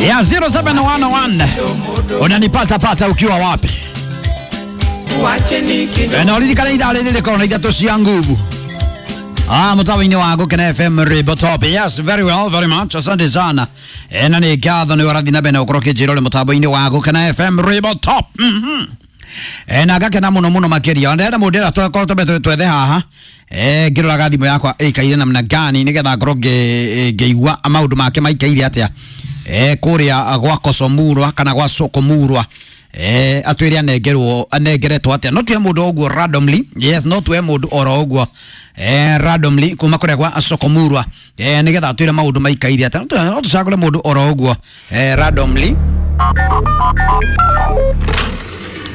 Ya 0711 unanipata pata ukiwa wapi? Na uririkana ithaa rĩrĩ rĩkorwo na ithatũ cia nguvu. Ah, mtawa-inĩ wa Gũkena FM Rĩmbo Top. Yes, very well, very much. Asante sana. Na nĩ ngatho nĩ ũrathiĩ na mbere na gũkorwo ũkĩnjĩra ũrĩ mũtambo-inĩ wa Gũkena FM Rĩmbo Top. Na ngakena mũno mũno makĩria. Ndĩrenda mũndũ ĩrĩa twakorwo twambete twethe haha. Ngĩroraga thimũ yakwa ĩikaire namna gani nĩgetha ngorwo ngĩigua maũndũ make maikaire atĩa. Kũrĩa gwa Kosomurwa kana gwa Sokomurwa. Atwĩre anengerwo anengeretwo atĩa. No tuhe mũndũ ũguo randomly. Yes, no tuhe mũndũ oro ũguo randomly kuma kũrĩa gwa Sokomurwa nĩgetha atwĩre maũndũ maikaire atĩa. No tũcagũre mũndũ oro ũguo randomly.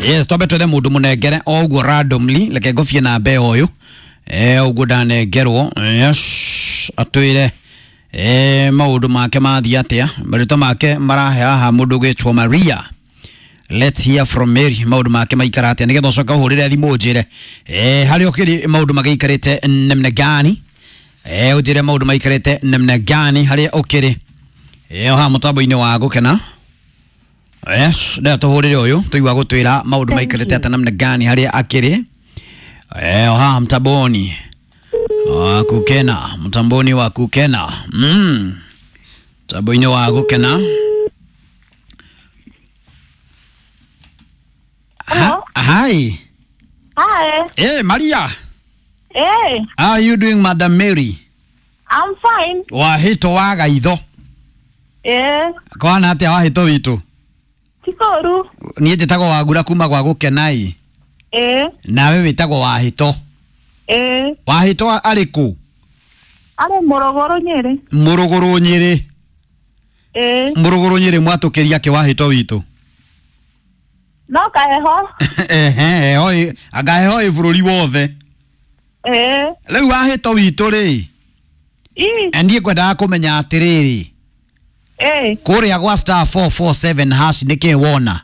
Yes, twambe twethe mũndũ mũnengere o ũguo randomly. Reke ngũbie namba ũyũ ũguo ndanengerwo. Yes, atwĩre maũndũ make mathiĩ atĩa. Marĩtwa make marahe haha mũndũ ũgwĩtwo Maria. Let's hear from Mary maũndũ make maikara atĩa nĩgetha ũcoke ũhũrĩre thimũ ũnjĩre harĩa ũkĩrĩ maũndũ magĩikarĩte namna gani. Ũnjĩre maũndũ maikarĩte namna gani harĩa ũkĩrĩ haha mũtambo-inĩ wa Gũkena. Yes, ndĩrenda tũhũrĩre ũyũ tũigua gũtwĩra maũndũ maikarĩte atĩa namna gani harĩa akĩrĩ haha mtamboni wa Gũkena, mtamboni wa Gũkena. Mtambo-inĩ wa Gũkena. Hello. Hi. Hi. Hey, Maria. Hey, How are you doing, Madam Mary? I'm fine. Wahĩto wa gaitho. Eh, Kwana atĩa wahĩto witũ? Tikoru. Niĩ njĩtagwo Wangura kuma gwa Gũkena. Eh, Nawe wĩtagwo Wahĩto. eh, Wahĩto arĩ kũ? are Morogoro Nyeri. Mũrũgũrũ Nyĩrĩ. Eh, Mũrũgũrũ Nyĩrĩ mwatũkĩria kĩ Wahĩto witũ? no kaheho. Ehe, heho anga heho ĩ bũrũri wothe. Eh, Rĩu Wahĩto witũ rĩ, i, niĩ ngwendaga kũmenya atĩrĩrĩ, eh, kũrĩa gwa star 447 hash nĩkĩ wona?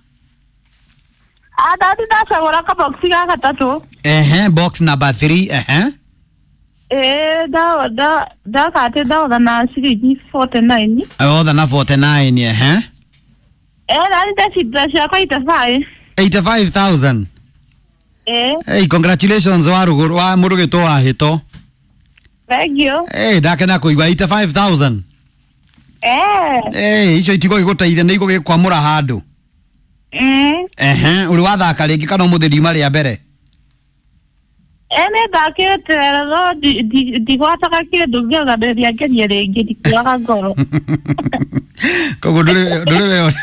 adadi ndacagũra kaboxi ga gatatũ. Ehe, box number 3, ehe. Eh, da da ndakate ndaotha na ciringi 49. Otha na 49, ehe. Eh, nani ndacinda ciakwa 85. 85,000. Eh, Hey, congratulations wa ruguru wa mũrũgĩtwo Wahĩto. thank you. Hey, ndakena kũigua 85,000. Eh, Hey, icio itigũgĩgũteithia nĩ igũgĩkwamũra handũ. Ehe, ũrĩ wathaka rĩngĩ kana ũmũthĩ riuma rĩa mbere? Eh, nĩ ndakĩte no ndigwataga kĩndũ ngĩoga nderia ngerie rĩngĩ ndikuaga ngoro. Koguo ndũrĩ we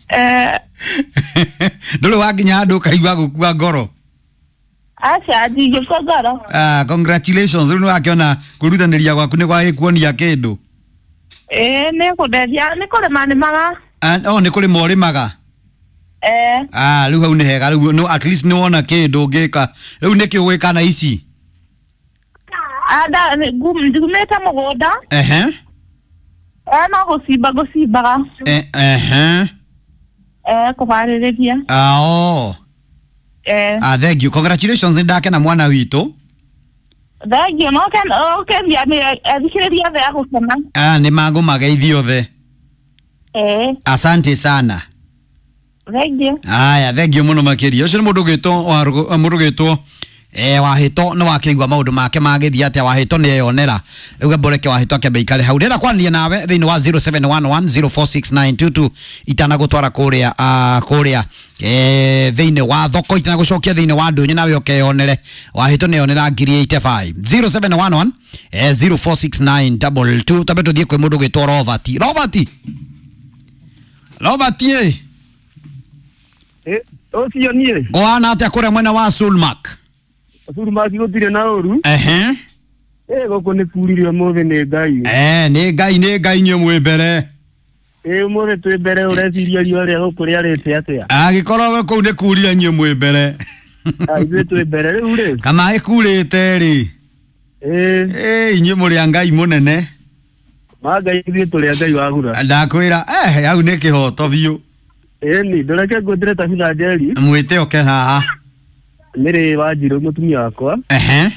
Eh, ndũrĩ wakinya handũ ũkaigua gũkua ngoro. aca ndingĩkua ngoro. Ah, congratulations rĩu nĩwakĩona kwĩrutanĩria gwaku nĩ gwagĩkuonia kĩndũ. Ĩĩ nĩ kũndeithia nĩ kũrĩma nĩmaga. Ah, oh, nĩ kũrĩma ũrĩmaga. Eh, Ah, rĩu hau nĩ hega rĩu no, at least nĩ wona kĩndũ ũngĩka. Rĩu nĩkĩ ũgwĩka na ici? anda ngumĩte mũgũnda. Ehe. Eh, no gũcimba ngũcimbaga. Ehe. Eh, kũharĩrĩria. Ah, oh. Eh, Ah, thank you. Congratulations ndakena mwana witũ. thank you. No ũkenia nĩ athikĩrĩria othe a gũkena. Ah, nĩ mangũmageithia othe. Eh, Asante sana. thank you. Aya, thank you mũno makĩria. Ũcio nĩ mũndũ ũgwĩtwo mũndũ ũgwĩtwo Wahĩto nĩ wakĩigua maũndũ make magĩthiĩ atĩa. Wahĩto nĩ eyonera. Rĩu gamboreke Wahĩto akĩambe ikare hau. Ndĩrenda kwaranĩria nawe thĩinĩ wa 0711046922 itanagũtwara kũrĩa kũrĩa thĩinĩ wa thoko itanagũcokia thĩinĩ wa ndũnyũ nawe ũkeyonere. Wahĩto nĩ eyonera ngiri 85 0711 046922. Twambe tũthiĩ kwĩ mũndũ ũgwĩtwo Robert. Robert. Robert ĩ. Ũcio niĩ Ngũhana atĩa kũrĩa mwena wa Sulmak? Sulmak gũtirĩ na ũru. Ehe. Gũkũ nĩ kurire ũmũthĩ nĩ Ngai. Nĩ Ngai nĩ Ngai inyuĩ mwĩ mbere. Ũmũthĩ twĩ mbere ũreciria riũa rĩa gũkũ rĩarĩte atĩa? Angĩkorwo kũu nĩ kurire inyuĩ mwĩ mbere. Ithuĩ twĩ mbere rĩu rĩ. Kana ĩkurĩte rĩ. Inyuĩ mũrĩ a Ngai mũnene. Ma Ngai ithuĩ tũrĩ a Ngai wagura. Ndakwĩra hau nĩ kĩhoto biũ. Ĩni ndũreke ngwĩtĩre Tabitha Njeri. Mwĩte oke haha. Mĩrĩ Wanjirũ mũtumia wakwa. Ehe.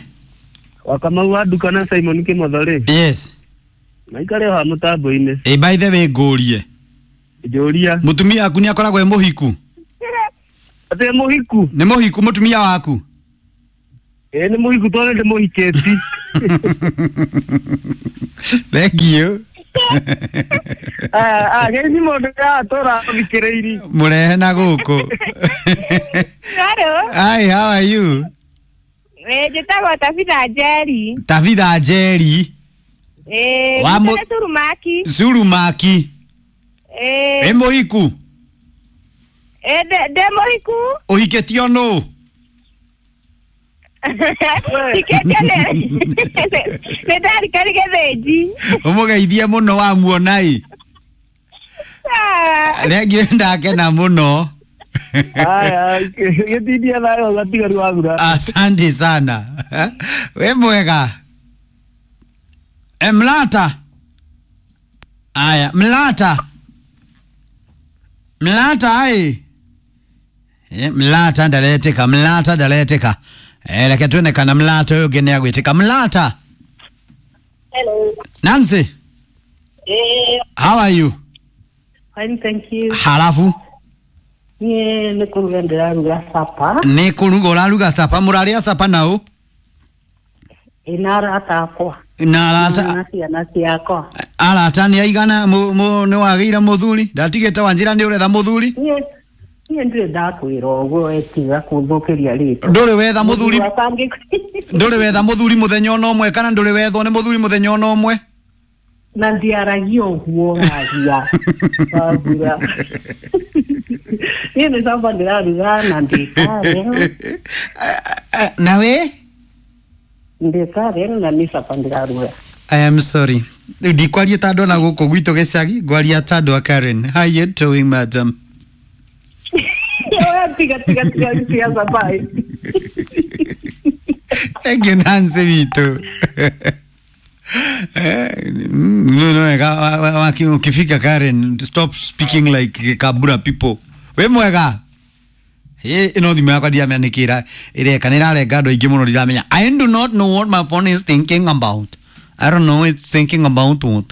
Wa Kamau wa Nduka na Simon Kĩmotho rĩ. Yes. Maikare o ha mũtambo-inĩ. Ĩ, by the way ngũrie. Njũria. Mũtumia waku nĩ akoragwo e mũhiku? Atĩ mũhiku? Nĩ mũhiku mũtumia waku? Ĩ nĩ mũhiku tondũ nĩ mũhikĩti. Thank you. Ah, geici mũndũ atũra thikĩrĩiri. Mũrehe na gũkũ. Hello. Hi, how are you? Njĩtagwo Tabitha Njeri. Tabitha Njeri. Eh, Wa njĩtagwo Surumaki. Surumaki. Eh, Wĩ mũhiku? eh, ndĩ mũhiku. Ũhikĩtio nũ? Hikĩtio nĩ ndarikari gĩthĩnji. Ũmũgeithie mũno wamuona ĩ. Ah, Rĩngĩ ndakena mũno. Aya, gĩtindie thayũ gatigaru wagura. Asante sana. We mwega. E, mlata. Aya, mlata. Mlata ai. E, mlata ndaleteka, mlata ndaleteka. E, reke tuone kana mlata ũyũ ũngĩ nĩagwĩtĩka. Mlata. Hello. Nancy, Eh, how are you? Fine, thank you. Halafu Niĩ nĩ kũruga ndĩraruga sapa nĩ kũruga ũraruga sapa, mũrarĩa sapa naũ? ĩna arata akwa Na arata na ciana ciakwa. arata nĩ aigana nĩ wagĩire mũthuri? Ndatigĩte wanjĩra nĩ ũretha mũthuri? Niĩ ndirĩ ndakwĩra ũguo etiga kũthũkĩria rĩtwa. Ndũrĩ wetha mũthuri? Wakwa Ndũrĩ wetha mũthuri mũthenya ona ũmwe kana ndũrĩ wethwo nĩ mũthuri mũthenya ona ũmwe? Na ndiaragia ũguo ũragia wambura. Niĩ nĩ sapa ndĩraruga na ndĩkarĩa Na we? ndĩkarĩa na nĩ sapa ndĩraruga. I am sorry. Rĩu ndikwaria ta andũ ona gũkũ gwitũ gĩcagi, ngwaria ta andũ a Karen. How you doing, madam? Tiga tiga tiga tiga sapa. Thank you, Nancy witũ. No, no, ukifika Karen, stop speaking like Kabura people. We mwega. Ĩno thimũ yakwa ndiramenya nĩkĩ ĩreka nĩ ĩrarenga andũ aingĩ mũno ndiramenya. I do not know what my phone is thinking about. I don't know it's thinking about what.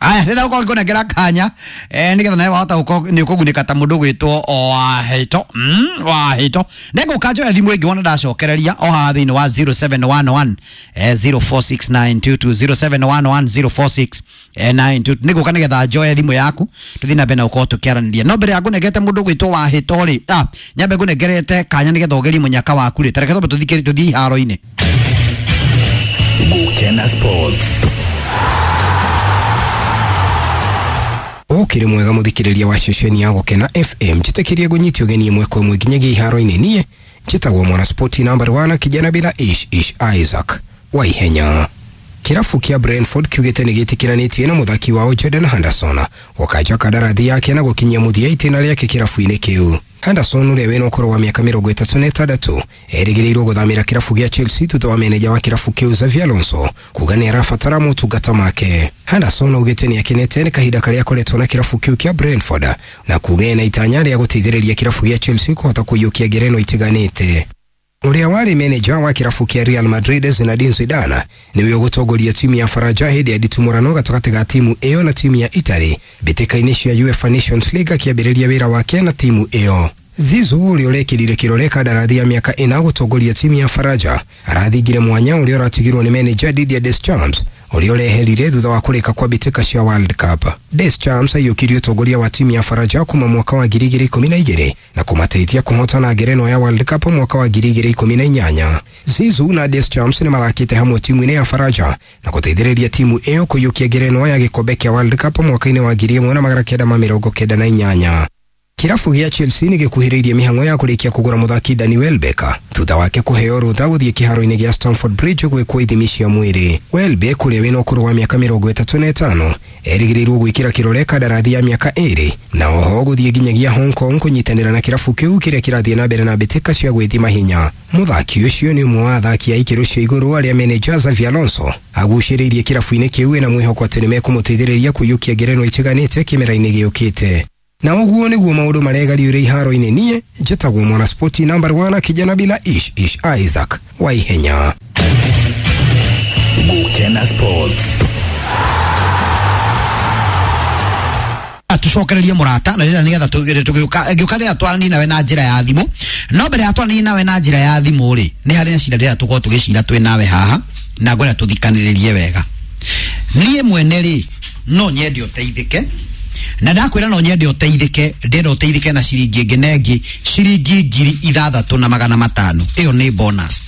Aya, ndĩrenda gũkorwo ngĩkũnengera kanya nĩgetha nawe wahota gũkorwo nĩ ũkũgunĩka ta mũndũ ũgwĩtwo Wahĩto. Wahĩto. Nĩngũka njoe thimũ ĩngĩ wona ndacokereria o haha thĩinĩ wa 0711 046922 0711 046922 nĩngũka nĩgetha njoe thimũ yaku tũthiĩ na mbere na gũkorwo tũkĩaranĩria. No mbere ya ngũnengete mũndũ ũgwĩtwo Wahĩto rĩ, nyambe ngũnengerete kanya nĩgetha ũgerie mũnyaka waku rĩ, ta reke twambe tũthiĩ iharo-inĩ. Gukena Sports. Ũkĩrĩ mwega mũthikĩrĩria wa ceceni ya Gũkena FM njĩtĩkĩrie ngũnyite ũgeni ĩmwe kwa ĩmwe nginyagia iharo-inĩ. Niĩ njĩtagwo mwana spoti number 1 kijana bila ish ish Isaac wa ihenya. Kĩrabu kĩa Brentford kiugĩte nĩ gĩtĩkĩranĩtie na mũthaki wao Jordan Henderson gũkanja kandarathi yake na gũkinyia mũthia itĩna rĩake kĩrabu-inĩ kĩu. Henderson ũrĩa wĩna ũkũrũ wa mĩaka 36 erĩgĩrĩirwo gũthamĩra kĩrabu gĩa Chelsea thutha wa meneja wa kĩrabu kĩu Xavi Alonso kuga nĩ arabatara motungata make. Henderson augĩte nĩ akenete nĩ kahinda karĩa akoretwo na kĩrabu kĩu kĩa Brentford na kuga ena itanya rĩa gũteithĩrĩria kĩrabu gĩa Chelsea kũhota kũiyũkia ngerenwa itiganĩte. Ũrĩa warĩ meneja wa kĩrabu kĩa Real Madrid Zinedine Zidane nĩwe ũgũtongoria timu ya Faraja hĩndĩ ya nditimũrano gatagatĩ ga timu ĩyo na timu ya Italy mbĩtĩka-inĩ cia UEFA Nations League akĩambĩrĩria wĩra wake na timu ĩyo. Zizou ũrĩa ũrekĩrire kĩrore kandarathi ya mĩaka 4 gũtongoria timu ya Faraja arathingire mwanya ũrĩa ũratigirwo nĩ meneja Didier Deschamps ũrĩa ũreherire thutha wa kũrĩka kwa mbĩtĩka cia World Cup. Deschamps aiyũkirie ũtongoria wa timu ya Faraja kuma mwaka wa 2012 na kũmateithia kũhotana ngerenwa ya World Cup mwaka wa 2018. Zizou na Deschamps nĩ mathakĩte hamwe timu-inĩ ya Faraja na gũteithĩrĩria timu ĩyo kũiyũkia ngerenwa ya gĩkombe kĩa World Cup mwaka-inĩ wa 1998. Kĩrabu gĩa Chelsea nĩ gĩkuhĩrĩirie mĩhang'o ya kũrĩkia kũgũra mũthaki Danny Welbeck thutha wake kũheo rũtha gũthiĩ kĩharo-inĩ gĩa Stamford Bridge gwĩkwo ithimi cia mwĩrĩ. Welbeck ũrĩa wĩna ũkũrũ wa mĩaka 35 erĩgĩrĩirwo gwĩkĩra kĩrore kandarathi ya mĩaka 2 na oho gũthiĩ nginyagia Hong Kong kũnyitanĩra na kĩrabu kĩu kĩrĩa kĩrathiĩ na mbere na mbĩtĩka cia gwĩthima hinya. Mũthaki ũcio nĩ ũmwe wa athaki a ikĩro cia igũrũ arĩa meneja Xavi Alonso agucĩrĩirie kĩrabu-inĩ kĩu ena mwĩhoko atĩ nĩmekũmũteithĩrĩria kũiyũkia ngerenwa itiganĩte kĩmera-inĩ gĩũkĩte. Na ũguo nĩguo maũndũ maregariũre iharo-inĩ. Niĩ njĩtagwo mwana spoti number 1 kijana bila ish ish Isaac wa ihenya. Gukena Sports. Tucokererie mũrata na rĩrĩa nĩgetha tũgĩũka ngĩũka rĩrĩa twaranie nawe na njĩra ya thimũ. No mbere ya twaranie nawe na njĩra ya thimũ rĩ, nĩ harĩ na cira rĩrĩa tũkorwo tũgĩcira twĩ nawe haha, na ngwenda tũthikanĩrĩrie wega. Niĩ mwene rĩ, no nyende ũteithĩke, na ndakwĩra no nyende ũteithĩke, ndĩrenda ũteithĩke na ciringi ĩngĩ na ĩngĩ, ciringi 6500. Ĩyo nĩ bonus.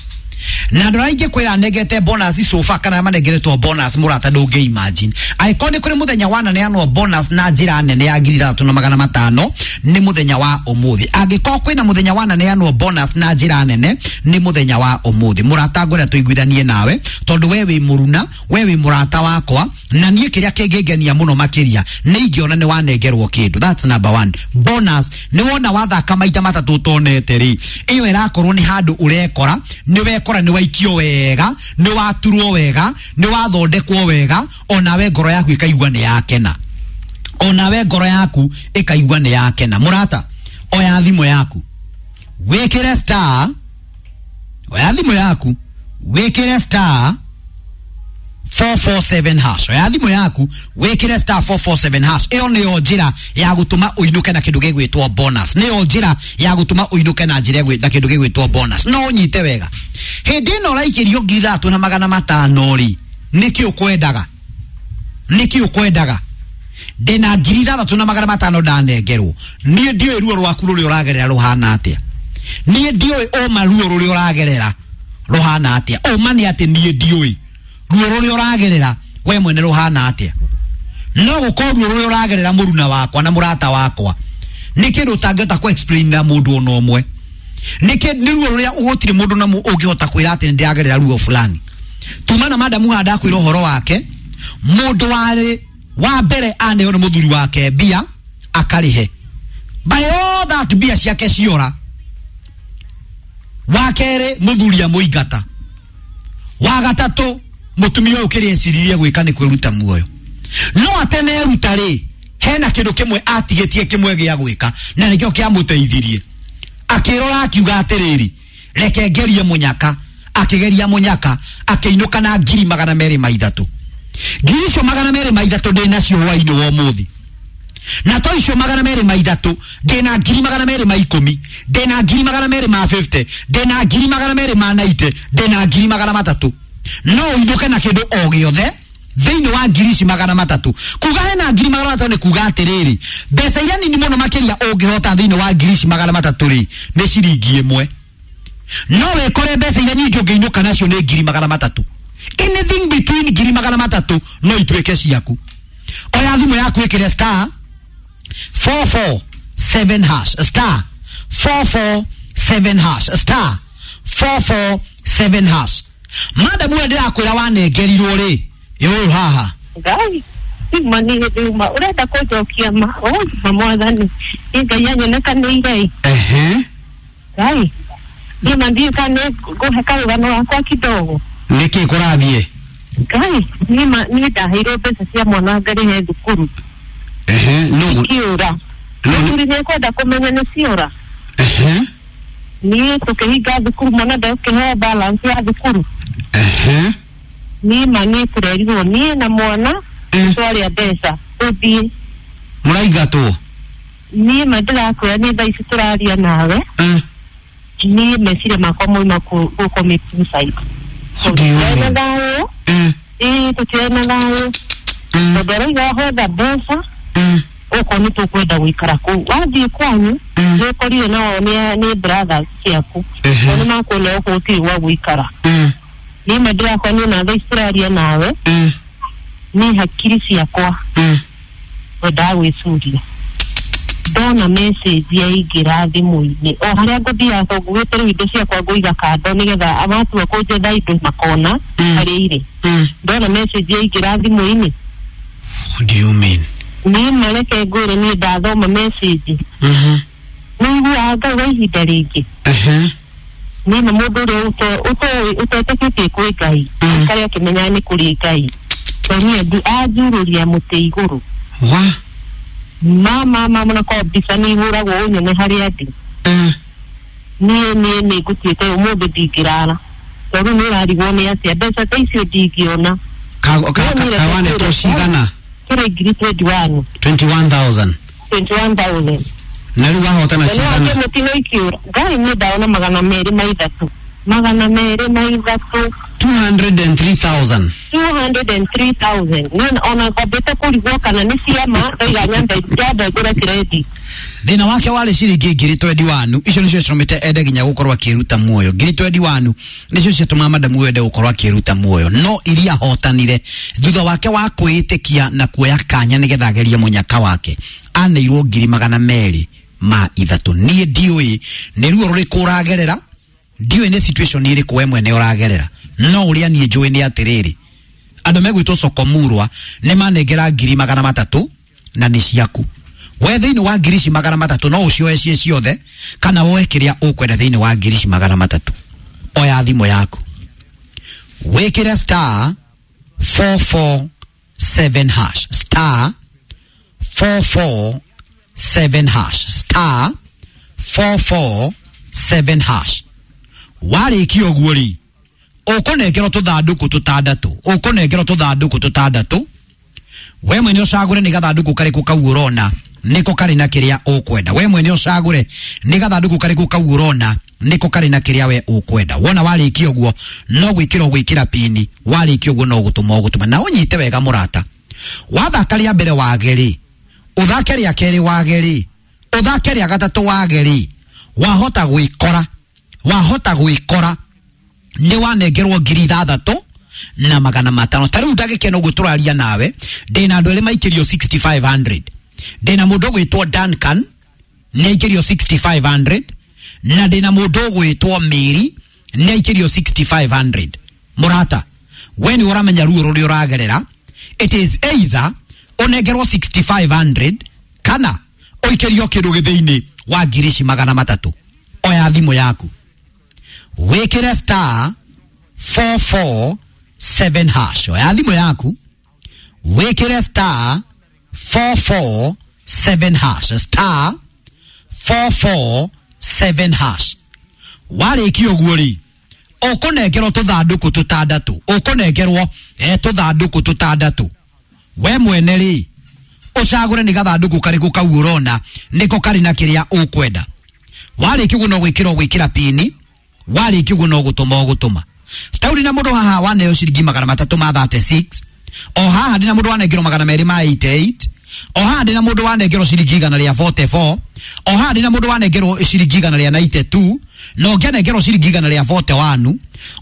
Na andũ arĩa ingĩkwĩra nengete bonus sofa kana manengeretwo bonus, mũrata, ndũngĩ imagine. Angĩkorwo nĩ kũrĩ mũthenya wananeanwo bonus na njĩra nene ya 6500, nĩ mũthenya wa ũmũthĩ. Angĩkorwo kwĩna mũthenya wananeanwo bonus na njĩra nene, nĩ mũthenya wa ũmũthĩ. Mũrata, ngwenda tũiguithanie nawe, tondũ we wĩ mũruna, we wĩ mũrata wakwa, na niĩ kĩrĩa kĩngĩngenia mũno makĩria nĩ ingĩona nĩ wanengerwo kĩndũ. That's number one. Bonus nĩ wona wathaka maita matatũ ũtonete rĩ, ĩyo ĩrakorwo nĩ handũ ũrekora nĩ wekora nĩ waikio wega, nĩ waturwo wega, nĩ wathondekwo wega, onawe ngoro yaku ĩkaigua nĩ yakena, onawe ngoro yaku ĩkaigua nĩ yakena. Mũrata, oya thimũ yaku wĩkĩre star, oya thimũ yaku wĩkĩre star 447 hash. Oya thimũ yaku wĩkĩre star 447 hash. Ĩyo nĩyo njĩra ya gũtũma ũinũke na kĩndũ gĩgwĩtwo bonus. Nĩyo njĩra ya gũtũma ũinũke na njĩra na kĩndũ gĩgwĩtwo bonus. No ũnyite wega, hĩndĩ ĩno ũraikĩrio 6500 rĩ, nĩkĩ ũkwendaga? Nĩkĩ ũkwendaga? Ndĩna 6500 ndanengerwo. Niĩ ndiũĩ ruo rwaku rũrĩa ũragerera rũhana atĩa. Niĩ ndiũĩ ũma ruo rũrĩa ũragerera rũhana atĩa. Ũma nĩ atĩ niĩ ndiũĩ ruo rũrĩa ũragerera we mwene rũhana atĩa. No gũkorwo ruo rũrĩa ũragerera, mũruna wakwa na mũrata wakwa, nĩ kĩndũ ũtangĩhota kũ explain na mũndũ ona ũmwe. Nĩ nĩ ruo rũrĩa gũtirĩ mũndũ na ũngĩhota kwĩra atĩ nĩ ndĩragerera ruo fulani. Tuma na madamu haha ndakwĩra ũhoro wake, mũndũ warĩ wa mbere aneo nĩ mũthuri wake mbia akarĩhe, by all that mbia ciake ciora. Wa kerĩ, mũthuri amũingata. Wa gatatũ, mũtumia ũyũ kĩrĩa eciririe gwĩka nĩ kwĩruta muoyo. No ateneruta rĩ, hena kĩndũ kĩmwe atigĩtie kĩmwe gĩa gwĩka, na nĩkĩo kĩamũteithirie. Akĩrora akiuga atĩrĩrĩ, reke ngerie mũnyaka. Akĩgeria mũnyaka, akĩinũka na 203,000. 203,000 ndĩ nacio hwainĩ wa ũmũthĩ, na to icio 203, ndĩna 210,000, ndĩna 250,000, ndĩna 290,000, ndĩna 300,000. No ũinũke na kĩndũ o gĩothe thĩinĩ wa ngiri ici 300. Kuga hena 300,000 nĩ kuga atĩrĩrĩ, mbeca iria nini mũno makĩria ũngĩhota thĩinĩ wa ngiri ici 300 rĩ, nĩ ciringi 1. No wĩkore mbeca iria nyingĩ ũngĩinũka nacio nĩ 300,000. Anything between 300,000 no ituĩke ciaku. Oya thimũ yaku ĩkĩre star 447 hash, star 447 hash, star 447 hash. Madamu ũyũ ndĩrakwĩra wanengerirwo rĩ, ĩ ũyũ haha. Ngai uma nĩ hĩndĩ uma ũrenda kũnjokia ma ma mwathani nĩ Ngai anyonekanĩire. Ehe. Ngai niĩ ma ndiũĩ kana nĩ ngũhe karũgano gakwa kidogo. Nĩkĩ kũrathiĩ? Ngai, niĩ ma niĩ ndaheirwo mbeca cia mwana ngarĩhe thukuru. Ehe, no. Ikiũra. Thukuru nĩ kwenda kũmenya nĩ ciora. Ehe. Niĩ tũkĩhinga thukuru, mwana ndakĩheo balance ya thukuru. Ehe. Niĩ ma niĩ tũrerirwo niĩ na mwana twarĩa mbeca tũthiĩ. Mũraingatwo? Niĩ ma ndĩrakwĩra, niĩ thaa ici tũraria nawe, niĩ meciria makwa mauma gũ commit suicide. What do you Tũtirĩ na mean? thayũ. Ĩĩ, tũtirĩ na thayũ, tondũ arauga hotha mbeca okorwo nĩ tũkwenda gũikara kũu. Wathiĩ kwanyu nĩ ũkorire nao nĩ brothers ciaku, o nĩ makuona okorwo gũtirĩ gwa gũikara. Niĩ ma ndĩrakwa niĩ na thaa ici tũraria nawe, niĩ hakiri ciakwa wendaga gwĩcuria ndona message yaingĩra thimũ-inĩ o harĩa ngũthiaga, tondũ ngugĩte rĩu indo ciakwa ngũiga kando nĩgetha matua kũnjetha indo makona harĩa irĩ. Ndona message yaingĩra thimũ-inĩ. What do you mean? Niĩ mareke ngwĩre, niĩ ndathoma message nĩ iguaga Ngai wa ihinda rĩngĩ. Niĩ na mũndũ ũrĩa ũtetĩkĩtie kwĩ Ngai akarĩa akĩmenyaga nĩ kũrĩ Ngai, tondũ niĩ anjurũria mũtĩ igũrũ. Wa? Mama mama, na kwa mbica nĩ ihũragwo ũnyone harĩa ndĩ. Niĩ nĩ ngũtuĩte ũmũthĩ ndingĩrara, tondũ nĩ ũrarigwo nĩ atĩa mbeca ta icio ndingĩona. Kawanetwo cigana? Ikĩrĩ ngiri 21. 21000. 21,000. Na rĩu wahotana Na nĩ cigana? wake mũtino ikiũra. Ngai niĩ ndaona 203. 203. 203,000. 203,000. Niĩ ona ngambĩte kũrigwo kana nĩ ciama ndaiga nyambe nyambe ngũre credit. Thĩna wake warĩ ciringi ngiri 21 icio nĩcio citũmĩte ende nginya gũkorwo akĩruta muoyo. Ngiri 21 nĩcio ciatũmaga madamu ende gũkorwo akĩruta muoyo, no iria ahotanire thutha wake wa kwĩĩtĩkia na kuoya kanya nĩgetha agerie mũnyaka wake, aneirwo ngiri 203. Niĩ ndiũĩ nĩ ruo rũrĩkũ ũragerera, ndiũĩ nĩ situation ĩrĩkũ we mwene ũragerera, no ũrĩa niĩ njũĩ nĩ atĩrĩrĩ, andũ megwĩtwo Sokomurwa nĩ manengera ngiri 300 na nĩ ciaku. We thĩinĩ wa ngiri ici 300 no ũcioe ciĩ ciothe kana woe kĩrĩa ũkwenda thĩinĩ wa ngiri ici 300. Oya thimũ yaku wĩkĩre star 447 hash, star 447 hash, star 447 hash. Warĩkia ũguo rĩ, ũkũnengerwo tũthandũkũ tũtandatũ, ũkũnengerwo tũthandũkũ tũtandatũ. We mwene ũcagũre nĩ gathandũkũ karĩkũ kau ũrona nĩko karĩ na kĩrĩa ũkwenda. We mwene ũcagũre nĩ gathandũkũ karĩkũ kau ũrona nĩko karĩ na kĩrĩa we ũkwenda. Wona warĩkia ũguo no gwĩkĩra ũgwĩkĩra pini, warĩkia ũguo no gũtũma ũgũtũma. Na ũnyite wega mũrata, wathaka rĩa mbere wage rĩ, ũthake rĩa kerĩ wage rĩ, ũthake rĩa gatatũ wage rĩ, wahota gwĩkora, wahota gwĩkora nĩ wanengerwo ngiri 6,500. Ta rĩu ndagĩka ĩno ũguo tũraria nawe, ndĩna andũ erĩ maikĩrio 6500. Ndĩna mũndũ ũgwĩtwo Duncan nĩ aikĩrio 6500, na ndĩna mũndũ ũgwĩtwo Mary nĩ aikĩrio 6500. Mũrata, we nĩ ũramenya ruo rũrĩa ũragerera. It is either ũnengerwo 6500 kana ũikĩrio kĩndũ gĩthĩinĩ wa ngiri ici 300. Oya thimũ yaku wĩkĩre star 447 hash. Oya thimũ yaku wĩkĩre star 447 hash, star 447 hash. Warĩkia ũguo rĩ, ũkũnengerwo tũthandũkũ tũtandatũ, ũkũnengerwo tũthandũkũ tũtandatũ. We mwene rĩ, ũcagũre nĩ gathandũkũ karĩkũ kau ũrona nĩko karĩ na kĩrĩa ũkwenda. Warĩkia ũguo no gwĩkĩra ũgwĩkĩra pini, warĩkia ũguo no gũtũma ũgũtũma. Tauri na mũndũ haha waneo ciringi 336, o haha ndĩna mũndũ wanengerwo 288, o haha ndĩna mũndũ wanengerwo ciringi 144, o haha ndĩna mũndũ wanengerwo ciringi 192, na ũngĩ anengerwo ciringi 141,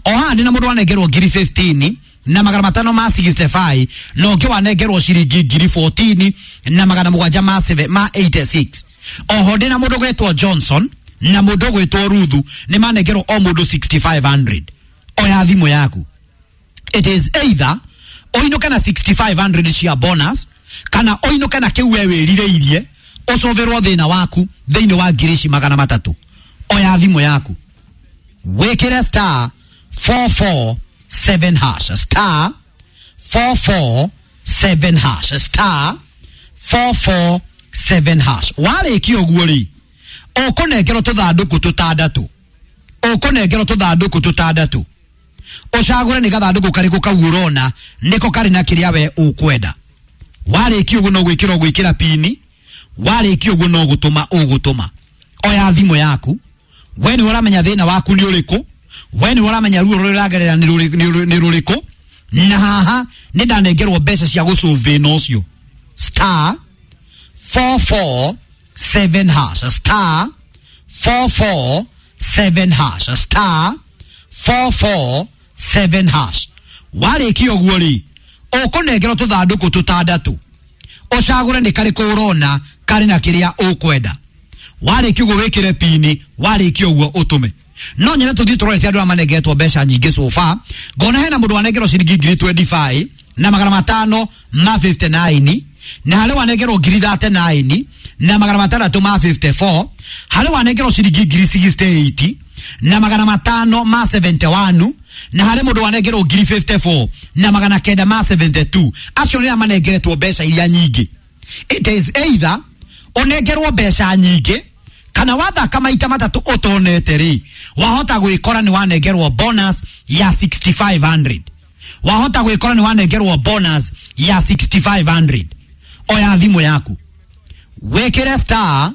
o haha ndĩna mũndũ wanengerwo ngiri 15 na 565, na ũngĩ wanengerwo ciringi ngiri 14 na 786. Oho ndĩna mũndũ ũgwĩtwo Johnson na mũndũ ũgwĩtwo Ruthu nĩ manengerwo o mũndũ 6500. Oya thimũ yaku, it is either ũinũke na 6500 cia bonus kana ũinũke na kĩu we wĩrirĩirie ũcũvĩrwo thĩna waku thĩinĩ wa ngiri ici 300. Oya thimũ yaku wĩkĩre star 447 hash, star 447 hash, star 447 hash. Warĩkia ũguo rĩ, ũkũnengerwo tũthandũkũ tũtandatũ, ũkũnengerwo tũthandũkũ tũtandatũ. Ũcagũre nĩ gathandũkũ karĩkũ kau ũrona nĩko karĩ na kĩrĩa we ũkwenda. Warĩkia ũguo no gwĩkĩra ũgwĩkĩra pini, warĩkia ũguo no gũtũma ũgũtũma. Oya thimũ yaku, we nĩ ũramenya thĩna waku nĩ ũrĩkũ, we nĩ ũramenya ruo rũrĩa ũragerera nĩ rũrĩkũ, na haha nĩ ndanengerwo mbeca cia gũsolve thĩna ũcio. Star 447 hash, star 447 hash, star 447 hash. Warĩkia ũguo rĩ, ũkũnengerwo tũthandũkũ tũtandatũ, ũcagũre nĩ karĩkũ ũrona karĩ na kĩrĩa ũkwenda. Warĩkia ũguo wĩkĩre pini, warĩkia ũguo ũtũme. No nyene tũthiĩ tũrorete andũ arĩa manengeretwo mbeca nyingĩ so far. Ngona hena mũndũ wanengerwo ciringi ngiri 25 na 559, na harĩ wanengerwo ngiri 39 na 654, harĩ wanengerwo ciringi ngiri 68 na 571, na harĩ mũndũ wanengerwo ngiri 54 na 972. Acio nĩ arĩa manengeretwo mbeca iria nyingĩ. It is either ũnengerwo mbeca nyingĩ kana wathaka maita matatũ ũtonete rĩ, wahota gwĩkora nĩ wanengerwo bonus ya 6500. Wahota gwĩkora nĩ wanengerwo bonus ya 6500. Oya thimũ yaku wĩkĩre star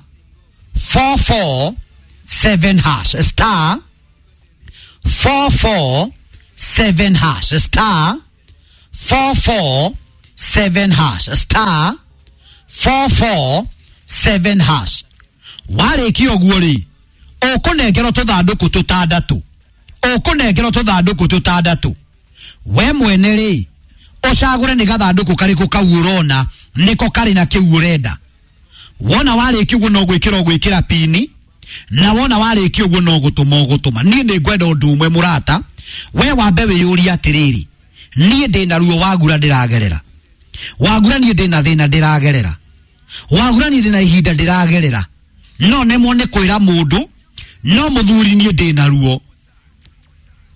447 hash, star 447 hash, star 447 hash, star 447 hash. Warĩkia ũguo rĩ, ũkũnengerwo tũthandũkũ tũtandatũ, ũkũnengerwo tũthandũkũ tũtandatũ. We mwene rĩ, ũcagũre nĩ gathandũkũ karĩkũ kau ũrona nĩko karĩ na kĩu ũrenda. Wona warĩkia ũguo no gwĩkĩra ũgwĩkĩra pini, na wona warĩkia ũguo no gũtũma ũgũtũma. Niĩ nĩ ngwenda ũndũ ũmwe mũrata, we wambe wĩyũrie atĩrĩrĩ, niĩ ndĩna ruo wagura ndĩragerera, wagura niĩ ndĩna thĩna ndĩragerera, wagura niĩ ndĩna ihinda ndĩragerera, no nemwo nĩ kwĩra mũndũ, no mũthuri niĩ ndĩna ruo,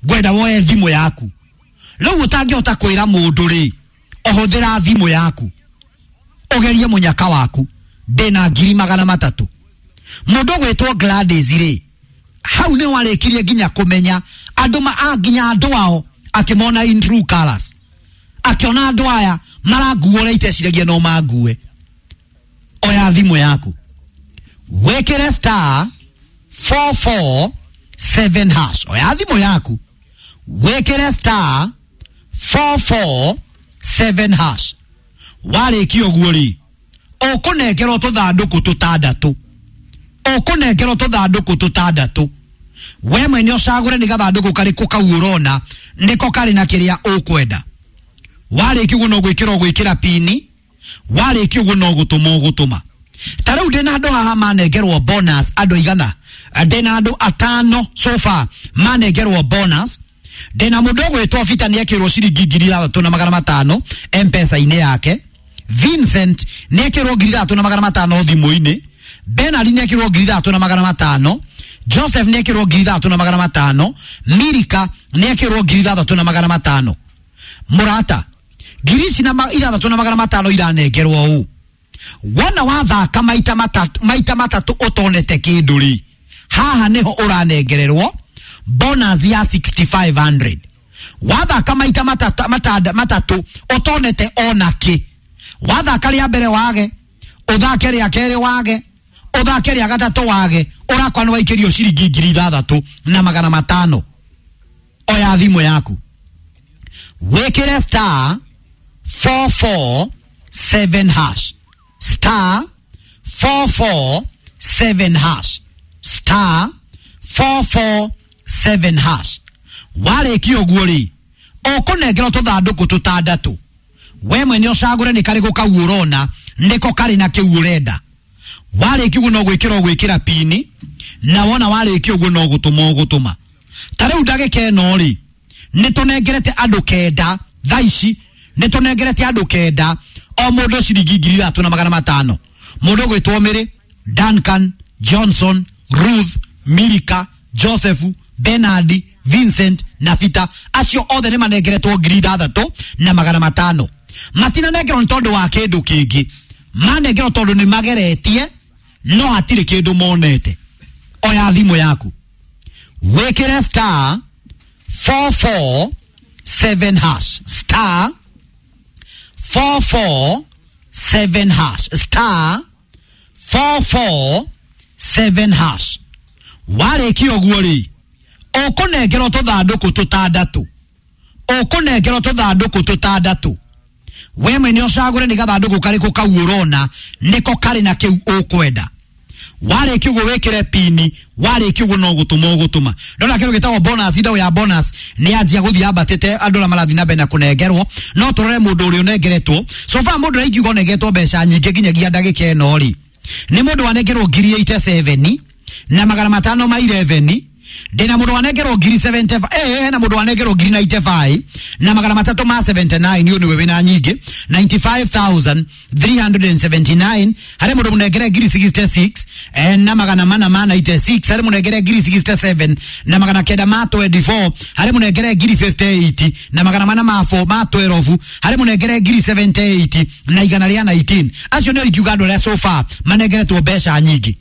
ngwenda woe thimũ yaku. Rĩu ũtangĩhota kwĩra mũndũ rĩ, ũhũthĩra thimũ yaku ũgerie mũnyaka waku, ndĩna 300,000. Mũndũ ũgwĩtwo Gladys rĩ, hau nĩ warĩkirie nginya kũmenya andũ nginya andũ ao akĩmona in true colors, akĩona andũ aya maranguo ũrĩa iteciragia no mangue. Oya thimũ yaku wĩkĩre star 447 hash. Oya thimũ yaku wĩkĩre star 447 hash. Warĩkia ũguo rĩ, ũkũnengerwo tũthandũkũ tũtandatũ, ũkũnengerwo tũthandũkũ tũtandatũ. We mwene ũcagũre nĩ gathandũkũ karĩkũ kau ũrona nĩko karĩ na kĩrĩa ũkwenda. Warĩkia ũguo no gwĩkĩra ũgwĩkĩra pini, warĩkia ũguo no gũtũma ũgũtũma. Ta rĩu ndĩna andũ haha manengerwo bonus andũ igana, ndĩna andũ atano so far manengerwo bonus. Ndĩna mũndũ ũgwĩtwo Vita nĩekĩrwo ciringi 6,500 M-Pesa-inĩ yake. Vincent nĩekĩrwo 3,500 thimũ-inĩ. Bernard nĩekĩrwo 3,500. Joseph nĩekĩrwo 3,500. Mirika nĩekĩrwo 6,500. Mũrata, ngiri ici na 6,500 iranengerwo ũũ. Wona wathaka maita matatũ ũtonete kĩndũ rĩ, haha nĩho ũranengererwo bonus ya 6,500. Wathaka maita matatũ ũtonete ona kĩ, wathaka rĩa mbere wage, ũthake rĩa kerĩ wage, ũthake rĩa gatatũ wage, ũrakwa nĩ waikĩrio ciringi 6,500. Oya thimũ yaku wĩkĩre star 447 hash, star 447 hash, star 447 hash. Warĩkia ũguo rĩ, ũkũnengerwo tũthandũkũ tũtandatũ. We mwene ũcagũre nĩ karĩkũ kau ũrona nĩko karĩ na kĩu ũrenda. Warĩkia ũguo no gwĩkĩra ũgwĩkĩra pini, na wona warĩkia ũguo no gũtũma ũgũtũma. Ta rĩu ndagĩka ĩno rĩ, nĩ tũnengerete andũ kenda thaa ici, nĩ tũnengerete andũ kenda o mũndũ ciringi 3,500. Mũndũ ũgwĩtwo Mary, Duncan, Johnson, Ruth, Mirika, Joseph, Bernard, Vincent na Vita, acio othe nĩ manengeretwo 6,500. Matinanengerwo nĩ tondũ wa kĩndũ kĩngĩ, manengerwo tondũ nĩ mageretie no hatirĩ kĩndũ monete. Oya thimũ yaku wĩkĩre star 447 hash, star 447 hash, star 447 hash. Warĩkia ũguo rĩ, ũkũnengerwo tũthandũkũ tũtandatũ, ũkũnengerwo tũthandũkũ tũtandatũ. We mwene ũcagũre nĩ gathandũkũ karĩkũ kau ũrona nĩko karĩ na kĩu ũkwenda. Warĩkia ũguo wĩkĩre pini, warĩkia ũguo no gũtũma ũgũtũma. Ndona kĩndũ gĩtagwo bonus, indo ya bonus nĩ yanjia gũthiĩ yambatĩte, andũ arĩa marathiĩ na mbere na kũnengerwo. No tũrore mũndũ ũrĩa ũnengeretwo. So far mũndũ ũrĩa ingiuga ũnengeretwo mbeca nyingĩ nginyagia ndagĩka ĩno rĩ, nĩ mũndũ wanengerwo 87,511. Ndĩna mũndũ wanengerwo 75, na mũndũ wanengerwo 95 na 379. Ũyũ nĩwe wĩna nyingĩ 95,379. Harĩ mũndũ mũnengere 66 na 496. Harĩ mũnengere 67 na 924. Harĩ mũnengere 58 na 412. Harĩ mũnengere 78 na 119. Acio nĩo ingiuga andũ arĩa so far manengeretwo mbeca nyingĩ.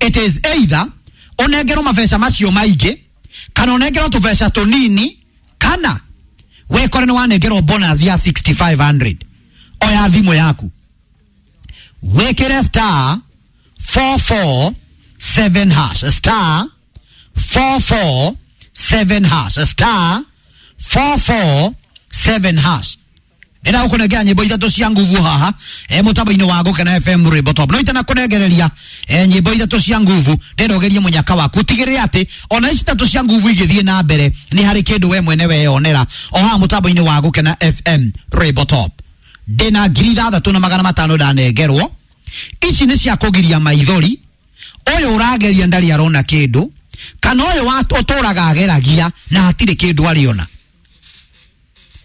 It is either ũnengerwo mabeca macio maingĩ kana ũnengerwo tũbeca tũnini, kana wekore nĩ wanengerwo bonus ya 6,500. Oya thimũ yaku Wĩkĩre star 447 hash, star 447 hash, star 447 hash. Ndĩrenda gũkũnengera nyĩmbo ithatũ cia nguvu haha mũtambo-inĩ wa Gũkena FM Rwĩmbo Top. No itanakũnengereria nyĩmbo ithatũ cia nguvu, ndĩrenda ũgerie mũnyaka waku, ũtigĩrĩre atĩ ona ici ithatũ cia nguvu igĩthiĩ na mbere nĩ harĩ kĩndũ we mwene weyonera o haha mũtambo-inĩ wa Gũkena FM Rwĩmbo Top. Ndĩna 6500 ndanengerwo. Ici nĩ cia kũgiria maithori. Ũyũ ũrageria ndarĩ arona kĩndũ, kana ũyũ ũtũraga ageragia na hatirĩ kĩndũ arĩona,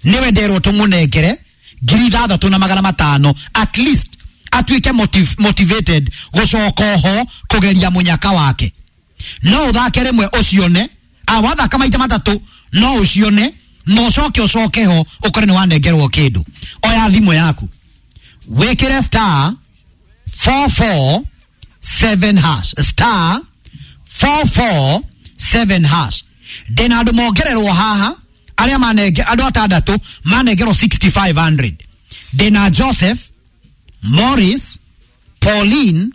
niwe nderwo tũmũnengere 6500 at least atuĩke motivated gũcoka oho kũgeria mũnyaka wake. No ũthake rĩmwe ũcione, wathaka maita matatũ no ũcione, na ũcoke ũcoke ho ũkore nĩ wanengerwo kĩndũ. Oya thimũ yaku wĩkĩre star 447 hash, star 447 hash. Ndĩna andũ mongererwo haha arĩa manenge, andũ atandatũ manengerwo 6500. Ndĩna Joseph, Morris, Pauline,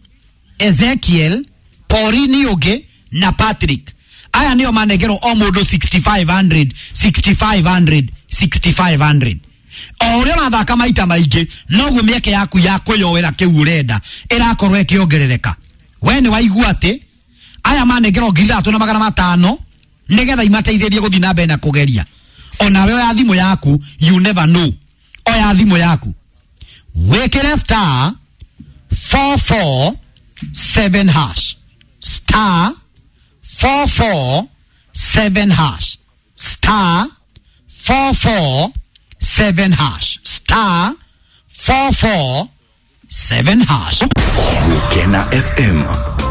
Ezekiel, Pauline ũngĩ na Patrick. Aya nĩo manengerwo o mũndũ 6500, 6500, 6500. O ũrĩa ũrathaka maita maingĩ noguo mĩeke yaku ya kwĩyoera kĩu ũrenda ĩrakorwo ĩkĩongerereka. We nĩ waigua atĩ aya manengerwo 6500 nĩgetha imateithĩrie gũthiĩ na mbere na kũgeria. Onawe oya thimũ yaku, you never know. Oya thimũ yaku wĩkĩre star 447 hash, star 447 hash, star 447 hash, star 447 hash. Gũkena FM.